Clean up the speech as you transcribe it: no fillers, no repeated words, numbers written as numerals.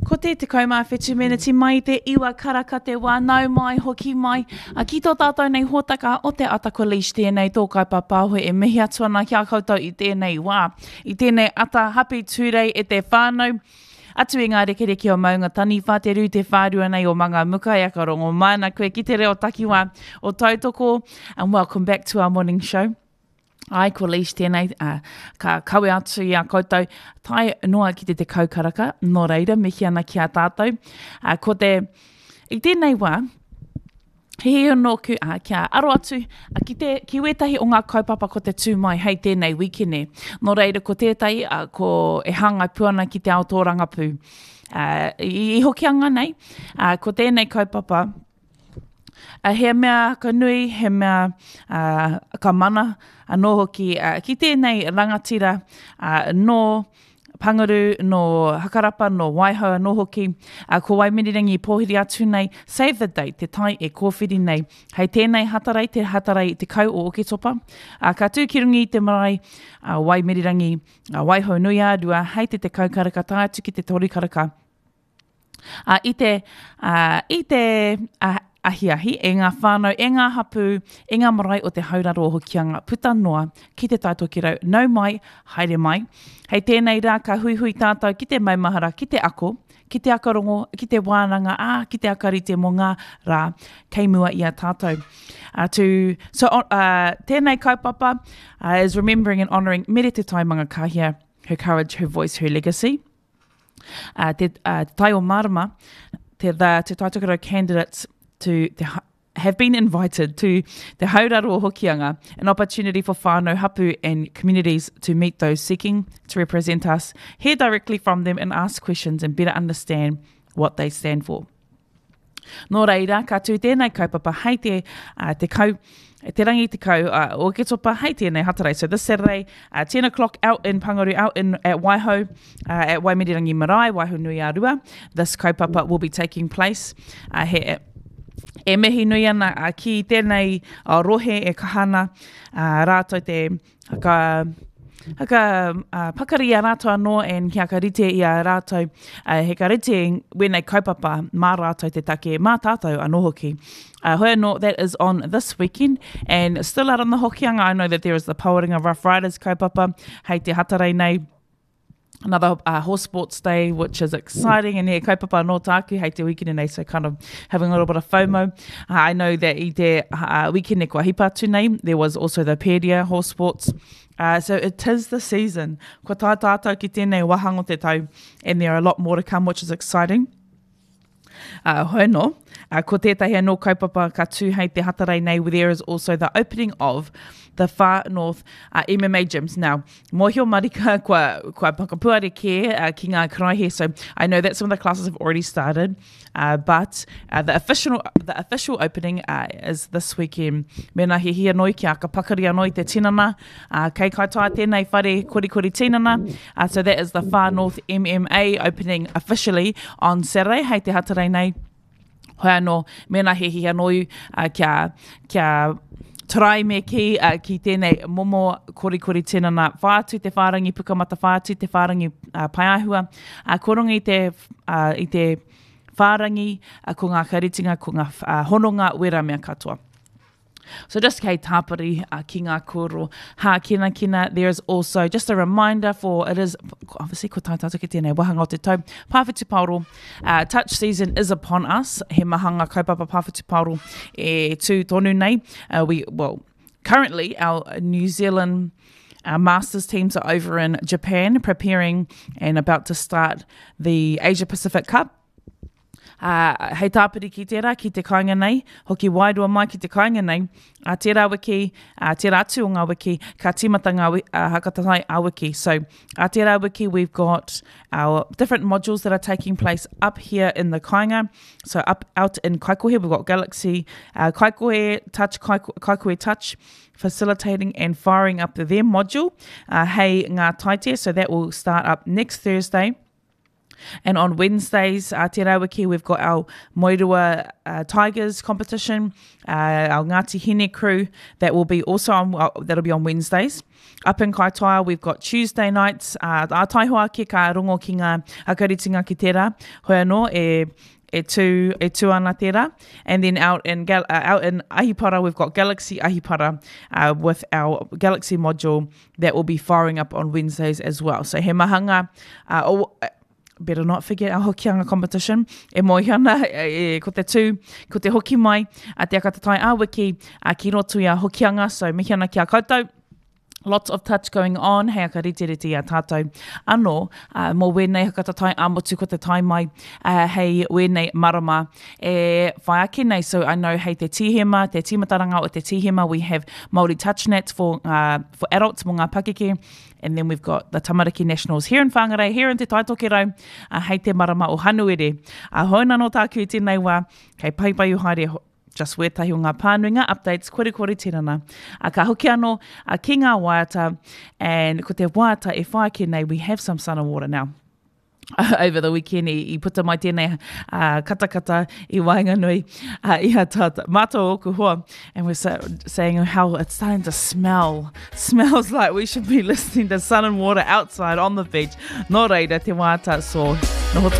Ko te 17 meneti mai i te iwa karaka te wā, nau mai, hoki mai, a ki tō tātou nei hōtaka o te Ata ko Leish tēnei tō kaupapa e mihi atu ana ki a koutou i tēnei wā, i tēnei ata hapi tūrei e te whānau. Atu i ngā rekereke o Maunga Taniwha, te rū te whārua nei o Mangamuka e aka rongo mai ana koe ki te reo takiwā o Tautoko. And welcome back to our morning show. Ai, ko Leish tēnei, uh, ka kawe atu i a koutou, tae noa ki te tekau karaka, nō reira, mihi ana ki a tātou. Uh, ko te, i tēnei wā, he hia nōku uh, kia aro atu uh, ki, te, ki wētahi o ngā kaupapa ko te tū mai hei tēnei wikene. Nō reira, ko tētahi, uh, ko e hāngai pū ana ki te ao tōrangapū. Uh, i, i Hokianga nei, uh, ko tēnei kaupapa, Uh, he mea ka nui, he mea uh, ka mana anō hoki uh, ki tēnei rangatira uh, nō Panguru, nō Hakarapa, nō Waihou anō hoki. Uh, ko Waimirirangi i pōhiri atu nei, save the date, te tai e kōwhiri nei. Hei tēnei hatarei, te hatarei te kau o Oketopa. Uh, ka tū ki rungi i te marae, uh, Waimirirangi, uh, Waihou nui ā-rua, hei te tekau karaka tae atu ki te toru karaka. Ā, i te, ā, i te ā, ahiahi, e ngā whānau, e ngā hapū, e ngā marae o te hauraro o Hokianga, puta noa ki Te Tai Tokerau, nau mai, haere mai. Hei tēnei rā ka huihui tātou ki te maumahara, ki te ako, ki te akarongo, ki te wānanga, ā, ki te akarite mō ngā rā kei mua i a tātou. Uh, to, so, uh, tēnei kaupapa uh, is remembering and honouring Mere Te Tai Mangakāhia, her courage, her voice, her legacy. Uh, te, uh, te Tai o Marama, te, the Te Tai Tokerau candidates to te, have been invited to Te Hauraro o Hokianga, an opportunity for whānau hapu and communities to meet those seeking to represent us, hear directly from them and ask questions and better understand what they stand for. Nō reira, ka tū tēnei kaupapa hei te, uh, te kau, te rangi te kau uh, o Oketopa hei tēnei Hatarei. So this Saturday, uh, 10 o'clock out in Pangaru, out in at Waihou, uh, at Waimirirangi Marae, Waihou nui a Rua. This kaupapa will be taking place. Uh, he, e mihi nui ana uh, ki tēnei uh, rohe e kaha ana uh, rātou te Haka, haka uh, pakari i a rātou anō and kia ka rite i a rātou, uh, he ka rite wēnei kaupapa mā rātou te take, mā tātou anō hoki. Uh, hoi anō, that is on this weekend and still out on the Hokianga, I know that there is the Pawarenga Rough Riders kaupapa hei te Hatarei nei. Another uh, horse sports day, which is exciting, and he kaupapa anō tāku hei te weekend nei, so kind of having a little bit of FOMO. Uh, I know that i te uh, weekend kua hipa atu nei, there was also the Peria horse sports. Uh, so it is the season. Kua tae tātou ki tēnei wāhanga o te tau, and there are a lot more to come, which is exciting. Uh, hoi anō, uh, ko tētahi anō kaupapa ka tū hei te Hatarei nei, there is also the opening of the Far North uh, MMA gyms. Now, mōhio marika kua, kua whakapuare kē uh, ki ngā karaehe, so I know that some of the classes have already started, uh, but uh, the, official, the official opening uh, is this weekend. Mēnā he hia noi kia ka pakari anō i te tinana, uh, kei Kaitaia tēnei whare korikori tinana, Uh, so that is the Far North MMA opening officially on Saturday, hei te Hatarei nei. Hoi anō, mēnā he hihi anō iu, uh, kia, kia try me ki, uh, ki tēnei momo korikori tinana. Whai atu te whārangi pukamata, whai atu te whārangi uh, paeāhua. Uh, ko runga i te, uh, i te whārangi, uh, ko ngā karitinga, ko ngā uh, hononga, wera mea katoa. So just kei tāpiri uh, ki ngā kōrero hākinakina. There is also just a reminder for, it is, obviously ko tā tātou ki tēnei wāhanga o te tau, Pāwhitu Paoro, uh, touch season is upon us. He maha ngā kaupapa Pāwhitu Paoro e tū tonu nei. Uh, we, well, currently our New Zealand Our Masters teams are over in Japan preparing and about to start the Asia Pacific Cup. Ā, hei tāpiri ki tērā, ki te kāinga nei, hoki wairua mai ki te kāinga nei, ā tērā wiki, ā tērā atu o ngā wiki, ka tīmata ngā uh, hakatatai a wiki. So, ā tērā wiki, we've got our different modules that are taking place up here in the kāinga. So, up out in Kaikohe, we've got Galaxy, uh, Kaikohe Touch, Kaiko, Kaikohe Touch, facilitating and firing up their module, uh, hei ngā taite. So, that will start up next Thursday. And on Wednesdays, uh, tērā wiki, we've got our Moerua uh, Tigers competition, uh, our Ngāti Hine crew that will be also on, uh, that'll be on Wednesdays. Up in Kaitaia, we've got Tuesday nights, uh, a taihoa ake ka rongo ki ngā akaritinga ki tērā, hoi anō e, e tū, e tū ana tērā. And then out in, Gal uh, out in Ahipara, we've got Galaxy Ahipara uh, with our Galaxy module that will be firing up on Wednesdays as well. So he maha ngā, uh, oh, uh, better not forget our Hokianga competition. E moe ana, e, e, ko te tū, ko te hoki mai, a te akatatai a wiki, a ki roto i a Hokianga. So mihi ana ki a koutou. Lots of touch going on, hei aka riterite i a tātou anō, uh, mō wēnei hakatatai a motu ko te tae mai, uh, hei wēnei marama e whai ake nei. So I know hei te Tīhema, te tīmataranga o te Tīhema, we have Māori Touch Nats for, uh, for adults, mō ngā pakeke, and then we've got the Tamariki Nationals here in Whangarei, here in Te Taitokerau, uh, hei te marama o Hanuere. Uh, hoi nā tāku i tēnei wā, kei paipaiu haere just wētahi o ngā pānui, ngā updates, korikori tinana. Uh, ka hoki anō uh, ki ngā waiata, and ko te waiata e whai ake nei, we have some sun and water now. over the weekend i, i puta mai tēnei uh, katakata i waenganui uh, i a tātou, mātou oku hoa, and we're so, saying how it's starting to smell, smells like we should be listening to sun and water outside on the beach. Nō reira, te wāta, so noho.